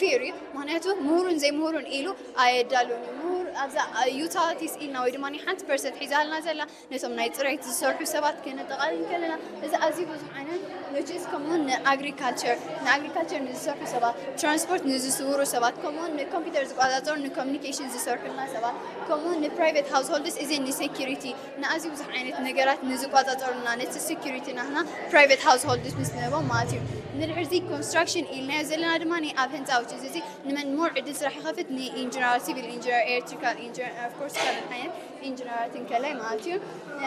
ፌር እዩ። ምክንያቱ ምሁሩን ዘይምሁሩን ኢሉ ኣየዳሉን እዩ። ምሁር ኣብዛ ዩታሊቲስ ኢልና ወይ ድማ ሓንቲ ፐርሰንት ሒዛልና ዘላ ነቶም ናይ ፅሬት ዝሰርሑ ሰባት ከነጠቓልል ከለና፣ እዚ ኣዝዩ ብዙሕ ዓይነት፣ which is ከምኡውን ንኣግሪካልቸር ንኣግሪካልቸር ንዝሰርሑ ሰባት፣ ትራንስፖርት ንዝስውሩ ሰባት፣ ከምኡውን ንኮምፒውተር ዝቆፃፀሩ ንኮሚኒኬሽን ዝሰርሑልና ሰባት፣ ከምኡውን ንፕራይቬት ሃውስሆልድስ እዚ ንሴኪሪቲ ንኣዝዩ ብዙሕ ዓይነት ነገራት ንዝቆፃፀሩልና ነቲ ሴኪሪቲ ናትና ፕራይቬት ሃውስሆልድስ ምስ ንህቦም ማለት እዩ። ንድሕርዚ ኮንስትራክሽን ኢልናዮ ዘለና ድማ ኣብ ህንፃ ውጭ እዚ ንመን ሞር ዕድል ስራሕ ይኸፍት? ንኢንጂነራት፣ ሲቪል ኢንጂነር፣ ኤሌክትሪካል ኢንጂነር፣ ኦፍኮርስ ካልኦት ዓይነት ኢንጂነራት እንከላይ ማለት እዩ።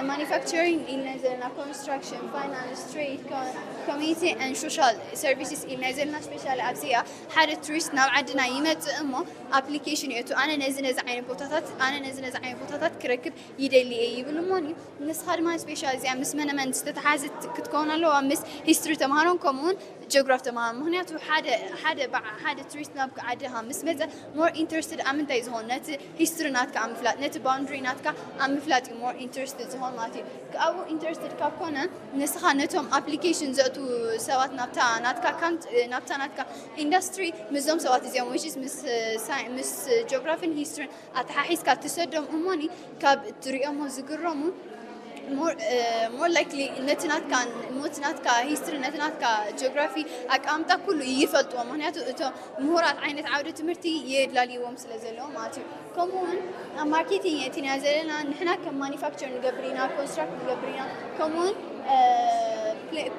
ማኒፋክቸሪንግ ኢልና ዘለና ኮንስትራክሽን፣ ፋይናንስ፣ ትሬድ፣ ኮሚኒቲ ን ሶሻል ሰርቪስስ ኢልና ዘለና ስፔሻሊ ኣብዚኣ ሓደ ቱሪስት ናብ ዓድና ይመፅእ እሞ ኣፕሊኬሽን የእቱ። ኣነ ነዚ ነዚ ዓይነት ቦታታት ኣነ ነዚ ነዚ ዓይነት ቦታታት ክረክብ ይደሊ እየ ይብል እሞኒ። ንስኻ ድማ ስፔሻል እዚኣ ምስ መነመን ዝተተሓዘት ክትከውን ኣለዋ፣ ምስ ሂስትሪ ተምሃሮን ከምኡውን ጂኦግራፍ ተምሃሮን። ምክንያቱ ሓደ ሓደ በዓ- ሓደ ቱሪስት ናብ ዓድኻ ምስ መፀ ሞር ኢንትረስትድ ኣብ ምንታይ ዝኸውን ነቲ ሂስትሪ ናትካ ኣብ ምፍላጥ ነቲ ባውንድሪ ናትካ ኣብ ምፍላጥ እዩ ሞር ኢንትረስትድ ዝኸውን ማለት እዩ። ካብኡ ኢንትረስትድ ካብ ኮነ ንስኻ ነቶም ኣፕሊኬሽን ዘእቱ ሰባት ናብታ ናትካ ካንት ናብታ ናትካ ኢንዱስትሪ ምስዞም ሰባት እዚኦም which is ምስ ሳይ- ምስ ጂኦግራፊን ሂስትሪን ኣተሓሒዝካ ትሰዶም እሞኒ ካብ ትሪኦሞ ዝግረሙ more likely ነቲ ናትካ ሞት ናትካ ሂስትሪ ነቲ ናትካ ጂኦግራፊ ኣቀማምጣ ኩሉ ይፈልጥዎ። ምክንያቱ እቶም ምሁራት ዓይነት ዓውደ ትምህርቲ የድላልይዎም ስለ ዘለዉ ማለት እዩ። ከምኡውን ኣብ ማርኬቲንግ የእቲና ዘለና ንሕና ከም ማኒፋክቸር ንገብር ኢና፣ ኮንስትራክት ንገብር ኢና፣ ከምኡውን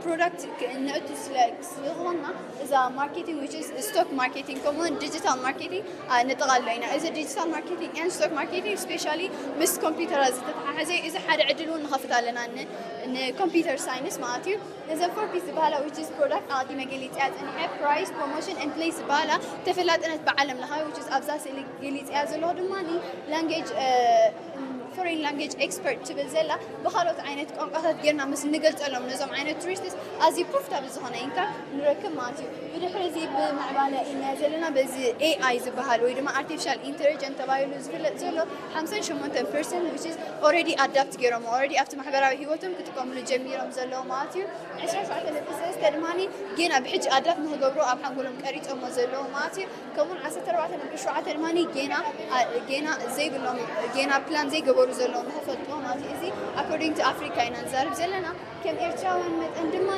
ፕሮዳክት ነእቱ ስለ ዝኾንና እዛ ማርኬቲንግ which is ስቶክ ማርኬቲንግ ከምኡውን ዲጂታል ማርኬቲንግ ነጠቓልሎ ኢና። እዚ ዲጂታል ማርኬቲንግ ን ስቶክ ማርኬቲንግ ስፔሻሊ ምስ ኮምፒውተራት ዝተተሓሓዘ እዩ። እዚ ሓደ ዕድል እውን ንኸፍት ኣለና ን- ንኮምፒውተር ሳይንስ ማለት እዩ። እዘን ፎር ፒስ ዝበሃላ which is ፕሮዳክት ኣቐዲመ ገሊፅያ ፀኒሐ፣ ፕራይስ፣ ፕሮሞሽን ን ፕሌስ ዝበሃላ ተፈላጥነት ብዓለም ለኻዊ which is ኣብዛ ስእሊ ገሊፅያ ዘለኹ ድማ ላንጌጅ ፎሬን ላንጌጅ ኤክስፐርት ትብል ዘላ ብካልኦት ዓይነት ቋንቋታት ጌርና ምስ ንገልፀሎም ነዞም ዓይነት ቱሪስትስ ኣዝዩ ፕሮፊታብል ዝኾነ ኢንካም ንረክብ ማለት እዩ። ብድሕሪ እዚ ብምዕባለ ኢና ዘለና በዚ ኤኣይ ዝበሃል ወይ ድማ ኣርቲፊሻል ኢንቴሊጀንት ተባሂሉ ዝፍለጥ ዘሎ ሓምሳን ሸሞንተን ፐርሰንት which is already ኣዳፕት ገይሮም already ኣብቲ ማሕበራዊ ህይወቶም ክጥቀምሉ ጀሚሮም ዘለዉ ማለት እዩ። ዕስራን ሸውዓተን ነጥቢ ሰለስተ ድማ ጌና ብሕጂ ኣዳፕት ንክገብሩ ኣብ ሓንጎሎም ቀሪፆሞ ዘለዉ ማለት እዩ። ከምኡውን ዓሰርተ ኣርባዕተ ነጥቢ ሸውዓተ ድማ ጌና ጌና ዘይብሎም ጌና ፕላን ዘይገበሩ ዘለዉ ንክፈልጥዎ ማለት እዩ። እዚ ኣኮርዲንግ ቱ ኣፍሪካ ኢና ንዛረብ ዘለና። ከም ኤርትራውያን መጠን ድማ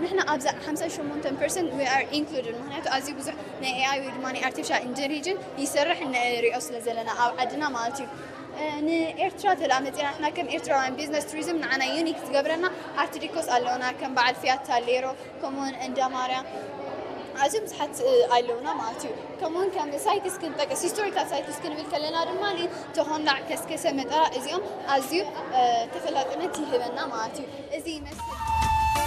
ንሕና ኣብዛ ሓምሳን ሸሞንተን ፐርሰንት we are included ምክንያቱ ኣዝዩ ብዙሕ ናይ ኤኣይ ወይ ድማ ኣርቲፊሻል ኢንቴሊጀንስ ይሰርሕ ንሪኦ ስለ ዘለና ኣብ ዓድና ማለት እዩ። ንኤርትራ ተላ መፅና ንሕና ከም ኤርትራውያን ቢዝነስ ቱሪዝም ንዓና ዩኒክ ዝገብረና ኣርት ዲኮስ ኣለውና ከም በዓል ፊያታ ሌሮ ከምኡውን እንዳ ማርያም ኣዝዮም ብዙሓት ኣለውና ማለት እዩ። ከምኡውን ከም ሳይትስ ክንጠቅስ ሂስቶሪካል ሳይትስ ክንብል ከለና ድማ ተኾንዳዕ ከስከሰ መጠራ እዚኦም ኣዝዩ ተፈላጥነት ይህበና ማለት እዩ። እዚ ይመስል።